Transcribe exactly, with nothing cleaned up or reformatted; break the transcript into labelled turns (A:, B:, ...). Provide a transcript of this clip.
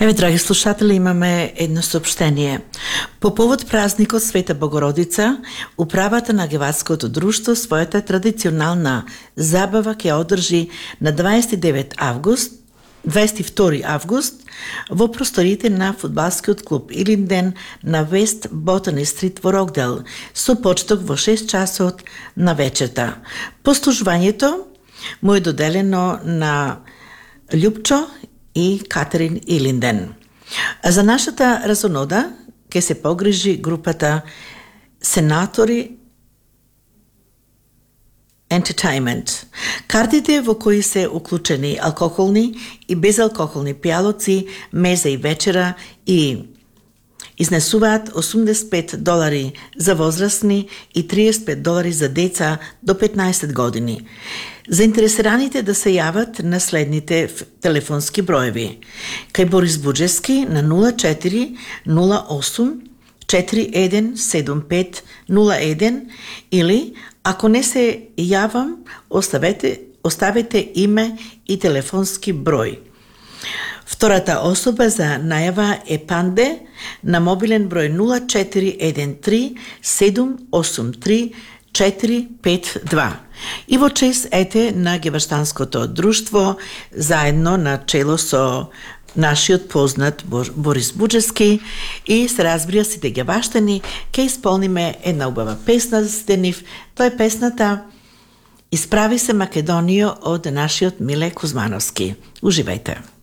A: Еве, драги слушатели, имаме едно сообщение. По повод празникот Света Богородица, управата на Геватското друштво својата традиционална забава ќе одржи на дваесет и девет август, дваесет и втори август во просториите на фудбалскиот клуб Илинден на Вест Ботани стрит во Рокдел, со почеток во шест часот на вечерта. Послужувањето му е доделено на Љупчо и Катерин Илинден. А за нашата разонода ќе се погрижи групата Сенатори Entertainment. Картите во кои се уклучени алкохолни и безалкохолни пијалоци, меза и вечера и изнесуваат осумдесет и пет долари за возрастни и триесет и пет долари за деца до петнаесет години. Заинтересираните да се јават на следните телефонски броеви. Кај Борис Буџевски на нула четири нула осум четири еден седум пет нула еден или ако не се јавам, оставете, оставете име и телефонски број. Втората особа за најава е Панде на мобилен број нула четири еден три седум осум три четири пет два. И во чест ете на Геваштанското друштво, заедно на чело со нашиот познат Борис Буџевски и се разбира сите геваштани, ке исполниме една убава песна за сите нив. Тоа е песната "Исправи се Македонијо" од нашиот Миле Кузмановски. Уживајте!